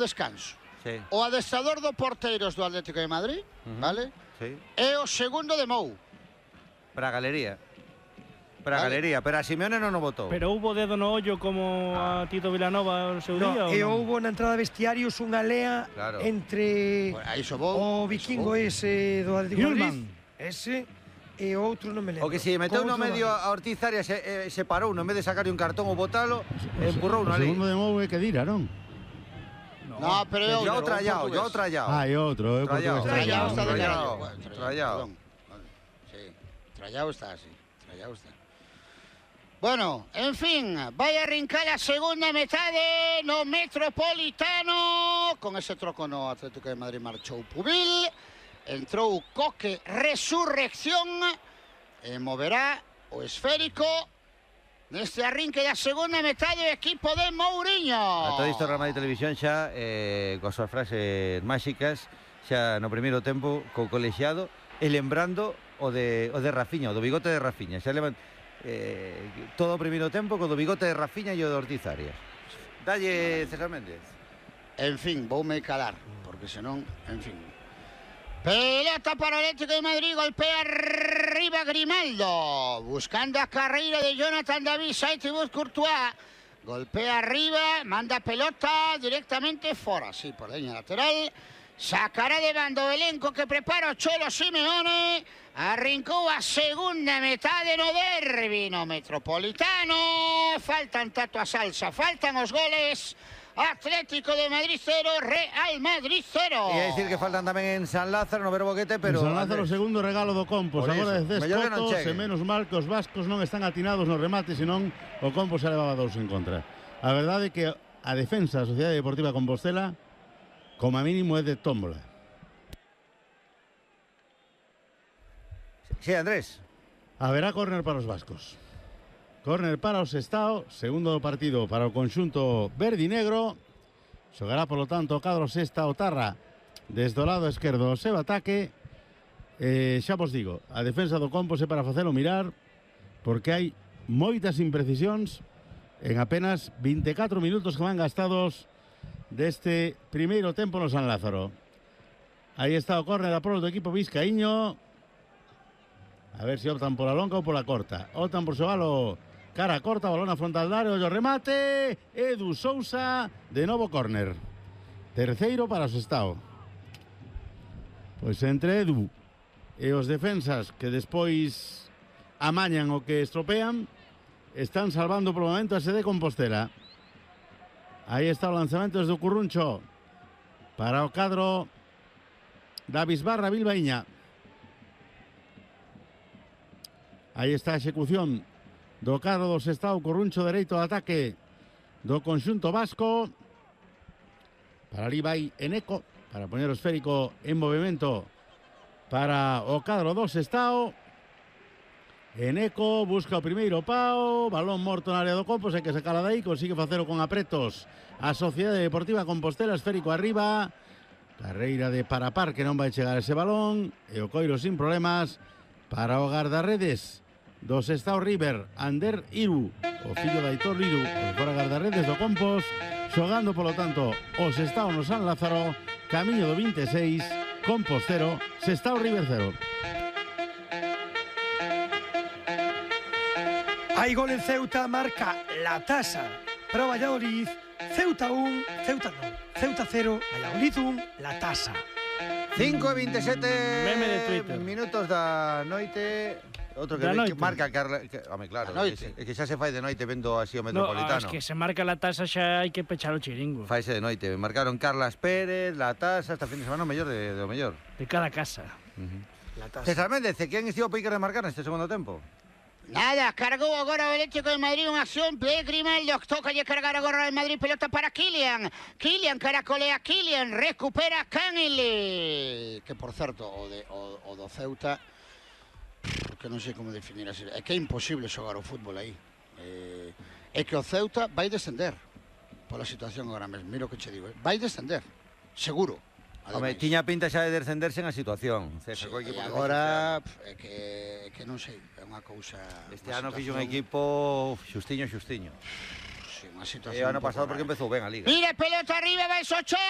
descanso. Sí. O adestrador do porteiros do Atlético de Madrid, vale? Sí. E o segundo de Mou. Para a galería. Para a Vale. galería, pero a Simeone non o votou. Pero hubo dedo no ollo como a Tito Vilanova no seu día? No, e houbo na entrada de vestiarios unha lea Claro. entre Bueno, aí sobou. o vikingo ese do Atlético de Madrid, Hillman. ese, e outro non me lembro. O que si meteu Con no outro medio Madrid. a Ortiz Arias se parou, no vez de sacarle un cartón ou botalo, empurrou O ali. segundo de Mou é que dira, non? No, pero é Yo outro, trallao, un yo portugués. trallao. Ah, e outro, é Trallao. portugués. Trallao está de Trallao. carallo. Bueno, Trallao. perdón. Vale. Sí, Trallao está así. Trallao está. Bueno, en fin, vai a arrincar a segunda metade no Metropolitano. Con ese troco no Atlético de Madrid marchou Pubil. Entrou Coque Resurrección e moverá o esférico neste arrinque da segunda metade do equipo de Mourinho. A todo isto Real Madrid Televisión xa coas súas frases máxicas xa no primeiro tempo co colexiado e lembrando o de Rafinha, o do bigote de Rafinha. Xa levan todo o primeiro tempo co do bigote de Rafinha e o de Ortiz Arias. Dalle César Méndez. En fin, voume calar, porque senón, en fin. Pelota para o Atlético de Madrid, golpea arriba Grimaldo, buscando a carreira de Jonathan David, sai Thibaut Courtois, golpea arriba, manda pelota directamente fora, sí, por la línea lateral, sacará de bando o elenco que prepara o Cholo Simeone, arrincou a segunda metade no derbi no Metropolitano, faltan tato a salsa, faltan os goles. Atlético de Madrid 0, Real Madrid 0. E a dicir que faltan tamén en San Lázaro, no Verboquete, pero... En San Lázaro, Andrés, segundo regalo do Compos. Por Agora iso. desde Mellor que non Cotos, chegue. e menos mal que os vascos non están atinados no remate, senón o Compos se levaba 2 en contra. A verdade é que a defensa da Sociedade Deportiva Compostela, como a mínimo, é de tómbola. Sí, Andrés. Haberá córner para os vascos. Córner para o Sestao, segundo do partido para o conxunto verde e negro. Xogará, polo tanto, o cadro Sestao Tarra desde o lado esquerdo o seu ataque. Xa vos digo, a defensa do Compos é para facelo mirar, porque hai moitas imprecisións en apenas 24 minutos que van gastados deste primeiro tempo no San Lázaro. Aí está o córner a prol do equipo vizcaíño. A ver se optan pola longa ou pola corta. Optan por xogalo cara corta, balón a frontal da área, o remate, Edu Sousa, de novo córner. Terceiro para o Sestao. Pois entre Edu e os defensas que despois amañan o que estropean, están salvando por momento a sede Compostela. Aí está o lanzamento desde o Curruncho para o cadro da Bisbarra Bilbaíña. Aí está a execución do cadro do Sestao, Curruncho dereito de ataque do conxunto vasco. Para ali vai Eneco, para poñer o esférico en movimento para o cadro do Sestao. Eneco busca o primeiro pau, balón morto na área do Compos, hai que sacala dai, consigue facelo con apretos a Sociedade Deportiva Compostela, esférico arriba, carreira de Parapar que non vai chegar ese balón, e o coiro sin problemas para o guardarredes do Sestao River, Ander Iru, o fillo de Aitor Iru, o fora guardarredes do Compos, xogando polo tanto o Sestao no San Lázaro, camiño do 26, Compos 0, Sestao River 0. Hai gol en Ceuta, marca la tasa para o Valladolid. Ceuta 1, Ceuta 0, Valladolid 1, la tasa. 5:27 Meme de Twitter. minutos da noite. Outro que, Da noite. que marca Carla, home, claro, Da noite. é que xa se fai de noite vendo así o No, Metropolitano. es que se marca la tasa xa hai que pechar o chiringo. Faise de noite. Marcaron Carlas Pérez, La Tasa, esta fin de semana o mellor do mellor. De cada casa. La tasa. César Méndez, quen estivo a picar de marcar neste segundo tempo? Nada, cargou agora o Atlético de Madrid unha acción de Grimaldo, toca lle cargar agora o Madrid, pelota para Kylian. Kylian caracolea, Kylian recupera Canele. Que por certo, o do Ceuta, que non sei como definir así, é que é imposible xogar o fútbol aí. É que o Ceuta vai descender pola situación agora mesmo, miro que che digo, vai descender, seguro. Home, Ademais. tiña pinta xa de descenderse en a situación. Sí, Co equipo e que agora é que non sei, é unha cousa. Este unha ano fixo un situación- equipo xustiño. Sí, Sí, una E situación o ano un pouco pasado porque rara. empezou ben a Liga. Mire, pelota arriba, va el Sochea.